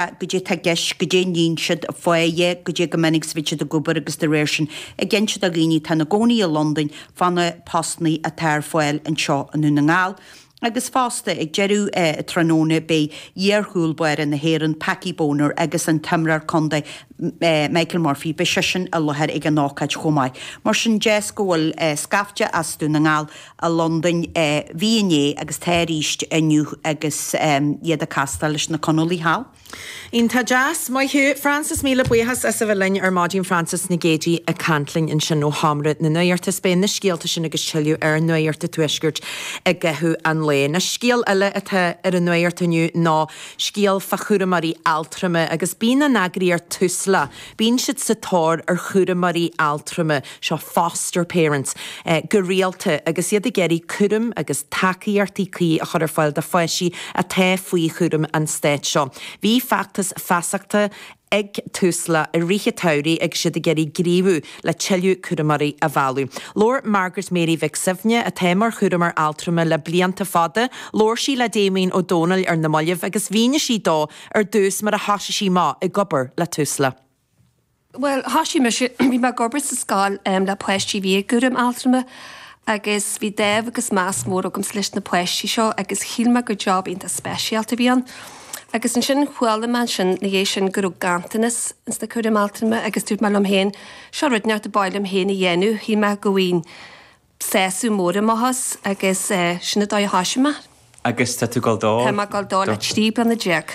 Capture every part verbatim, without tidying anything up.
Goidé tá i gceist, goidé a níonn siad, fáidhe, goidé go minic is a bhíonn siad ag obair agus de réir sin ag inse do dhaoine atá ina gcónaí i Londain fá na postannaí atá ar fáil anseo i nDún na nGall. Agus fosta, ag deireadh an tráthnóna beidh iar-chúl báire na hÉireann, Packie Bonner agus an t-imreoir contae Michael Murphy, beidh seisean i láthair ag an ócáid chomh maith. Mar sin, deas go bhfuil scaifte as Dún na nGall i Londain, bhí inné agus tá arís inniu agus iad ag castáil leis na Conallaigh thall. Iontach deas. Maith thú. Frances, míle buíochas as a bheith linn ar maidin Frances Nic Géadaigh ag caint linn ansin ó Sheomra na Nuachta. Is beidh na scéalta sin agus tuilleadh ar Nuacht an Tuaiscirt i gcaitheamh an lae. Anois scéal eile atá ar an nuacht inniu ná scéal fá chúramóirí altrama agus bíonn an eagraíocht Tusla, bíonn siad sa tóir ar chúramóirí altrama, seo foster parents, go rialta agus iad ag iarraidh cúram agus tacaíochtaí cuí a chur ar fáil do pháistí atá faoi chúram an stáit seo. Bhí feachtas feasachta ag Tusla i rith an tsamhraidh agus iad ag iarraidh gníomhú le tuilleadh cúramóirí a mhealladh. Labhair Margaret Mary Mhic Suibhne, atá mar chúramóir altrama le blianta fada, labhair sí le Damien Ó Dónaill ar na mallaibh agus mhínigh sí dó ar dtús mar a thosaigh sí amach ag obair le Tusla. Bhuel, thosaigh mise, bhí mé ag obair sa scoil le páistí a bhí i gcúram altrama agus bhí dáimh agus meas mór agamsa leis na páistí seo agus shíl mé gur job iontach speisialta a bhí ann. Agus ansin chuala mé ansin ina dhiaidh sin go raibh ganntanas ins na cúraim altrama agus dúirt mé liom féin, seo rud inteacht ab áil liom féin a dhéanamh, shíl mé go bhfaighinn sásamh mór amach as agus sin an dóigh a thosaigh mé. Agus tá tú ag dul dó? Tá mé ag dul dó le trí bliana déag.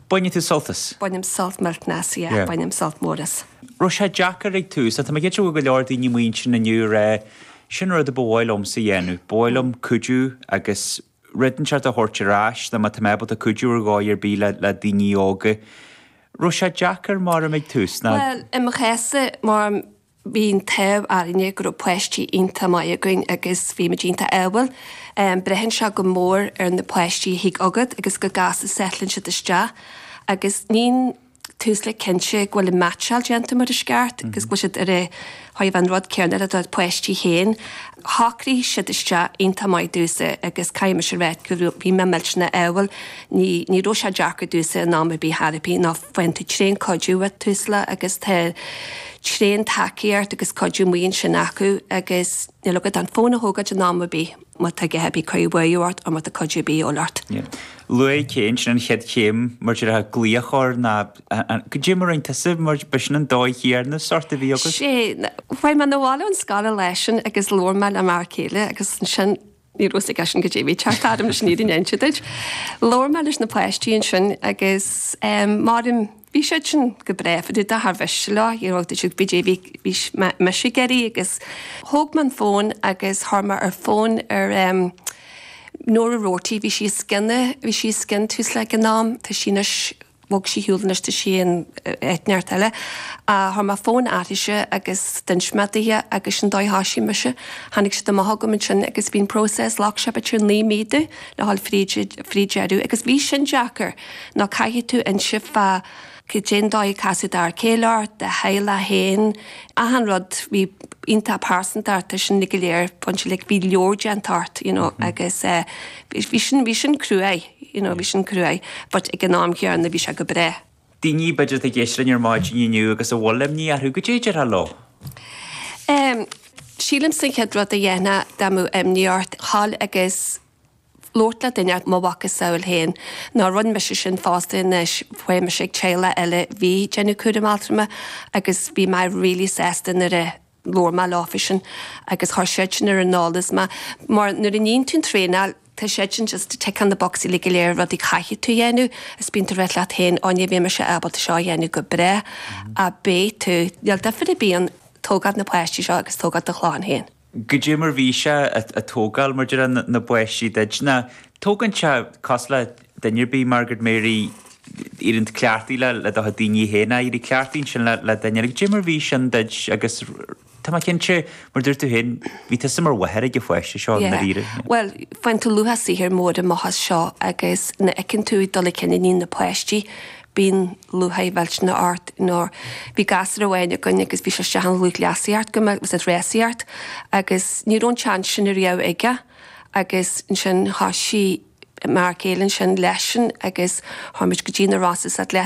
Baineann tú sult as? Bainim sult millteanach as, yeah, bainim sult mór as. Raibh sé deacair ag tús? Tá mé cinnte go bhfuil go leor daoine amuigh ansin inniu ag rá, sin rud a ba mhaith liomsa a dhéanamh, ba mhaith liom cuidiú agus rud inteacht a thabhairt ar ais nó má tá mé ábalta cuidiú ar dhóigh ar bith le le daoine óga. Raibh sé deacair mar ag tús ná? Bhuel, i mo chás-sa, mar bhí an t-ádh orainne go raibh páistí iontach maith againn agus bhí muid iontach ádhúil. Braitheann sé go mór ar na páistí a thig chugat agus go gasta settleann siad isteach agus níonn Tusla cinnte go bhfuil an meaitseáil déanta mar is ceart agus go bhfuil siad ar a thaobh an rud céanna le do pháistí féin. Shocraigh siad isteach iontach maith domhsa agus caithfidh mise a rá go raibh, bhí mé millteanach ádhúil. Ní, ní raibh sé deacair domhsa in am ar bith chor ar bith ná faigheann tú tréan cuidiú ó Tusla agus tá tréan tacaíocht agus cuidiú amuigh ansin acu agus níl agat ach an fón a thógáilt in am ar bith. má tá a dhath ar bith ag cur buartha ort nó má tá cuidiú ar bith de dhíobháil ort. Luaigh Cén sin an chéad chéim mar déarfá glaoch air ná goidé mar a rinne tusa mar b'shin an dóigh chéanna sort a bhí agat? Sé, chuaigh mé 'na bhaile ón scoil an lá sin agus labhair mé le m'fhear céile agus ansin ní raibh fhios aigesean goidé a bhí ag teacht orm leis an fhírinne a inse duit. Labhair mé leis na páistí ansin agus maram Bhí siad sin go breá fá dtaobh de char mhiste leo, you know, dúirt siad goidé bhí bhí mise ag iarraidh agus thóg mé an fón agus chuir mé ar fón ar em Nora Roarty, bhí sí os cionn, bhí sí os cionn Tusla ag an am, tá sí anois, bhog sí ar shiúl anois tá sí in áit inteacht eile. Ach chuir mé fón uirthise agus d'inis mé daoithe agus sin dóigh a thoisigh mise. Tháinig siad amach chugam ansin agus bhí an process, ghlac sé b'fhéidir naoi mí domh le dhul fríd, fríd deireadh agus bhí sin deacair. Nó caithfidh tú inse fá cén dóigh a casadh d'fhear céile ort, do theaghlach féin, achan rud bhí iontach pearsanta ort, tá sin go léir bainte like bhí leabhar déanta ort you know agus eh bhí sin bhí sin cruaidh you know bhí sin cruaidh but ag an am chéanna bhí sé go breá. Daoine b'fhéidir atá ag éisteacht linn ar maidin inniu agus a bhfuil imní orthu, goidé a déarfá leo? Em sílimse an chéad rud a dhéanfá dá mbeadh imní ort, dhul agus labhairt le duine mo mhacasamhail féin nó rinne mise sin fosta anois, chuaigh mise ag teaghlach eile bhí ag déanamh cúram altrama agus bhí mé really sásta nuair a labhair mé leofa sin agus chuir siad sin ar an eolas mé mar nuair a níonn tú an traenáil tá siad sin just ag ticeáil na bocsaí uilig go léir rudaí caithfidh tú a dhéanamh is bíonn tú ag rá leat féin ó ní bheidh mise ábalta seo a dhéanamh go breá ach beidh tú, níl difear ar bith ann tógáil na páistí seo agus tógáil do chlann féin. Goidé mar bhí sé a tógáil mar déarfá na bpáistí duit ná tógann sé cosúil le duine ar bith Margaret Mary éiríonn tú cleachtaithe le le do chuid daoine féin ach éirí cleachtaithe ansin le le duine eile. Goidé mar bhí sin duit agus tá mé cinnte mar dúirt tú féin bhí tusa mar mháthair ag an pháiste seo i ndáiríre. Yeah. Bhuel faigheann tú luach saothair mór amach as seo agus nuair a fheiceann tú ag dul chun cinn na páistí Bíonn lúcháir mhillteanach ort nó bhí gasúr amháin againn agus bhí sé isteach in lúthchleasaíocht go mbeadh was it rásaíocht agus ní raibh an seans sin ariamh aige agus ansin thoisigh m'fhear céile ansin leisean agus chuaigh muid go dtí na Rosses at